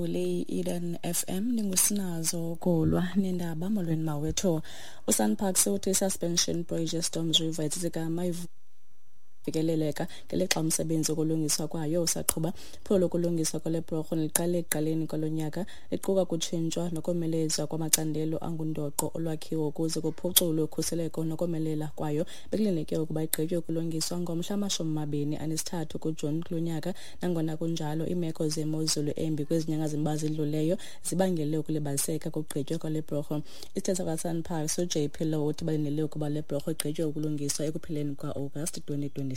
Mphulaphuli Eden FM, ndingusinazo Kolwa nendaba. Molweni mawethu. USanparks uthi i-suspension bridge eStorms River eTsitsikamma ifikeleleka ngelixa umsebenzi wokulungiswa kwayo usaqhuba. Iphulo lokulungiswa kwale bhulorho liqale ekuqaleni kwalo nyaka, liquka ukutshintshwa nokomelezwa kwamacandelo angundoqo olwakhiwo ukuze kuphuculwe ukhuseleko nokomelela kwayo. Bekulindeleke ukuba igqitywe ukulungiswa ngomhla 23 kuJuni kulo nyaka. Nangona kunjalo, iimeko zemozulu embi kwezi nyanga zimbalwa zidluleyo zibangele ukulibaziseka kokugqitywa kwale bhulorho. Isithethi sakwaSanparks uJP Low uthi balindele ukuba le bhulorho igqitywe ukulungiswa ekupheleni kwa-August 2026.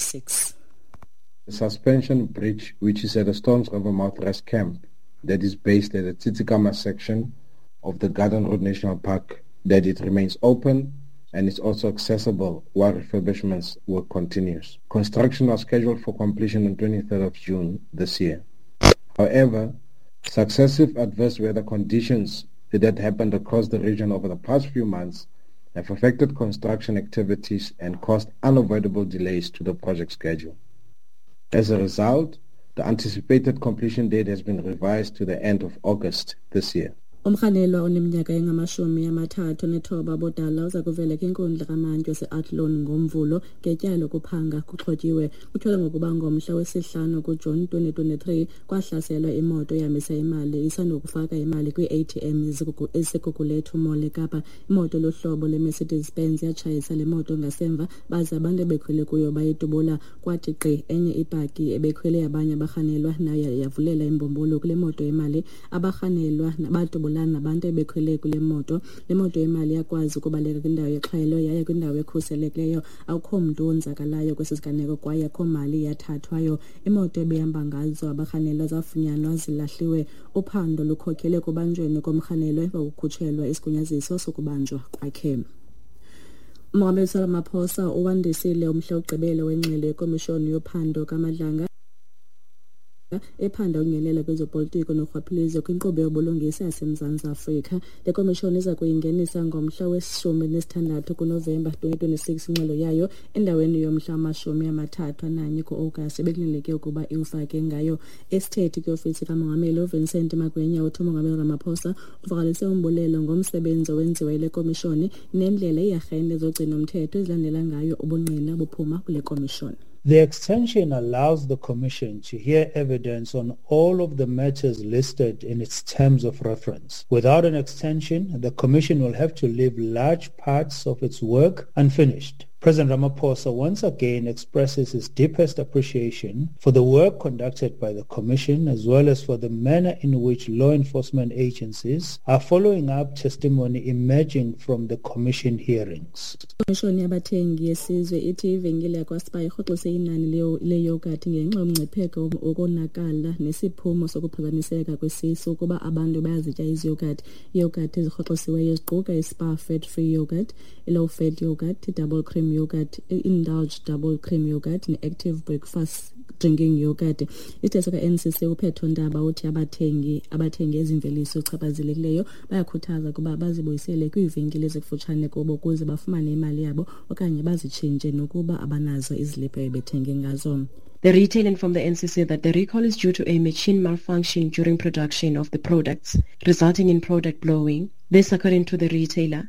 The suspension bridge, which is at the Storms River Mouth Rest Camp, that is based at the Tsitsikamma section of the Garden Route National Park, that it remains open and is also accessible while refurbishments work continues. Construction was scheduled for completion on 23rd of June this year. However, successive adverse weather conditions that happened across the region over the past few months have affected construction activities and caused unavoidable delays to the project schedule. As a result, the anticipated completion date has been revised to the end of August this year. Umrhanelwa oneminyaka engama-39 bodala uza kuvela kwinkundla kamantyi wase-Athlone ngoMvulo ngetyala lokuphanga kuxhotyiwe. Kutyholwa ngokuba ngomhla wesi-5 kuJuni 2023 kwahlaselwa imoto ehambisa imali isandokufaka imali kwii-ATM eziseGugulethu Mall eKapa. Imoto luhlobo lweMercedes Benz yatshayisa le moto ngasemva, baze abantu ebekhwele kuyo bayidubula. Kwathi gqi enye ibhaki ebekhwele abanye abarhanelwa nayo yavulela imbumbulu kule moto yemali. Abarhanelwa badubulana nabantu ebekhwele kule moto. Le moto yemali yakwazi ukubaleka kwindawo yexhwayelo yaye kwindawo ekhuselekileyo. Akukho mntu wonzakalayo kwesi siganeko kwaye akukho mali yathathwayo. Imoto ebehamba ngazo abarhanelwa zafunyanwa zilahliwe. Uphando lukhokhele ekubanjweni komrhanelwa emva kokukhutshelwa isigunyaziso sokubanjwa kwakhe. Umongameli Cyril Ramaphosa uwandisile umhla wokugqibela wengxelo yekomishoni yophando kaMadlanga ephanda ukungenela kwezopolitiko norhwaphilizo kwinkqubo yobulungisa yaseMzantsi Afrika. Le komishoni iza kuyingenisa ngomhla we-16 kuNovemba 2026 ingxelo yayo endaweni yomhla wama-31 ku-Agasti ebekulindeleke ukuba iwufake ngayo. Isithethi kwiofisi kamongameli uVincent Magwenya uthi umongameli Ramaphosa uvakalise umbulelo ngomsebenzi owenziwa yile komishoni nendlela iiarhente zogcino-mthetho ezilandela ngayo ubungqina buphuma kule komishoni. The extension allows the Commission to hear evidence on all of the matters listed in its terms of reference. Without an extension, the Commission will have to leave large parts of its work unfinished. President Ramaphosa once again expresses his deepest appreciation for the work conducted by the Commission, as well as for the manner in which law enforcement agencies are following up testimony emerging from the Commission hearings. Ikomishoni yabathengi yesizwe ithi ivenkile yakwaSpar irhoxise inani leyogathi ngenxa yomngcipheko wokonakala nesiphumo sokuphazamiseka kwesisu ukuba abantu bayazitya iziyogathi. Iyogathi ezirhoxisiweyo ziquka iSpar Fat Free Yogurt, i-Low Fat Yogurt, i-Double Cream Yogurt, i-Indulge Double Cream Yogurt ne-Active Breakfast Drinking Yogurt. Isithethi ka-NCC uPhetho Ntaba uthi abathengi abathenge ezi mveliso zichaphazelekileyo bayakhuthaza ukuba bazibuyisele kwiivenkile ezikufutshane kubo ukuze bafumane imali yabo okanye bazitshintshe nokuba abanazo iziliphu ebethenge ngazo. The retailer informed the NCC that the recall is due to a machine malfunction during production of the products, resulting in product blowing. This, according to the retailer,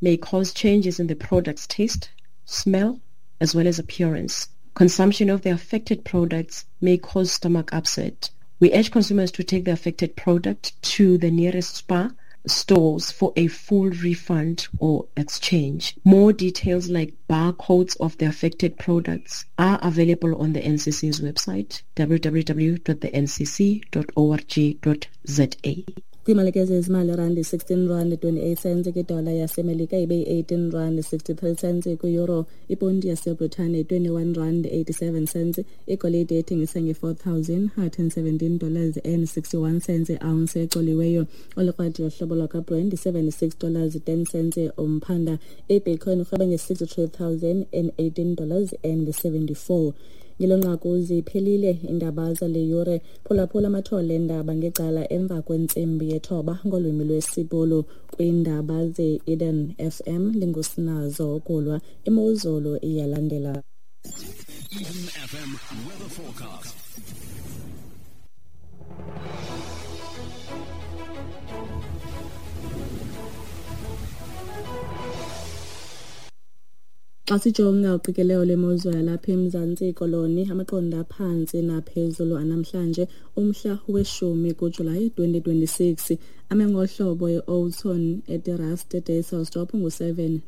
may cause changes in the product's taste, smell, as well as appearance. Consumption of the affected products may cause stomach upset. We urge consumers to take the affected product to the nearest Spar stores for a full refund or exchange. More details like barcodes of the affected products are available on the NCC's website, www.thencc.org.za. Kwimalike zezimali, randi 16 rand 28 cents kwidola yaseMelika, ibe yi-18 rand 63 cents kwi-euro, iponti yaseBritane 21 rand 87 cents. Igolide ethengisa nge-$4,117 and 61 cents i-ounce ecoliweyo. Olikrwadi yohlobo lwakwaBrent $76 10 cents umphanda. Ibitcoin irhweba nge-$63,018 and 74. Ngelo nqaku ziphelile iindaba zale yure. Phulaphula amathole endaba ngecala emva kwentsimbi yethoba ngolwimi lwesiBhulu kwiindaba ze-Eden FM. Ndingusinazo Kulwa. Imozulu iyalandela. Eden FM weather forecast. Xa sijonga uqikelelo lwemozulu yalapha eMzantsi Koloni, amaqondo aphantsi naphezulu anamhlanje umhla we-10 kuJulayi 2026 ame ngohlobo: e-Oudtshoorn, eTerrace, eDysselsdorp ngu-7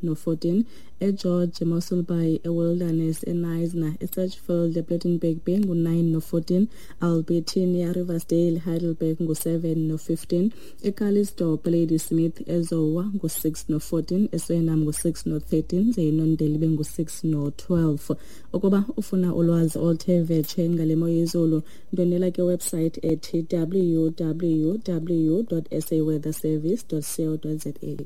no-14, eGeorge, eMossel Bay, eWilderness, eKnysna, eSedgefield, ePlettenberg Bay ngu-9 no-14, Albertinia, Riversdale, Heidelberg ngu-7 no-15, eCalitzdorp, Ladysmith, eZowa ngu-6 no-14, eSuriname ngu-6 no-13, ze iNondeli ibe ngu-6 no-12. Ukuba ufuna ulwazi oluthe vetshe ngale mo yezulu, ndwendwela ke website ethi www.saweatherservice.co.za.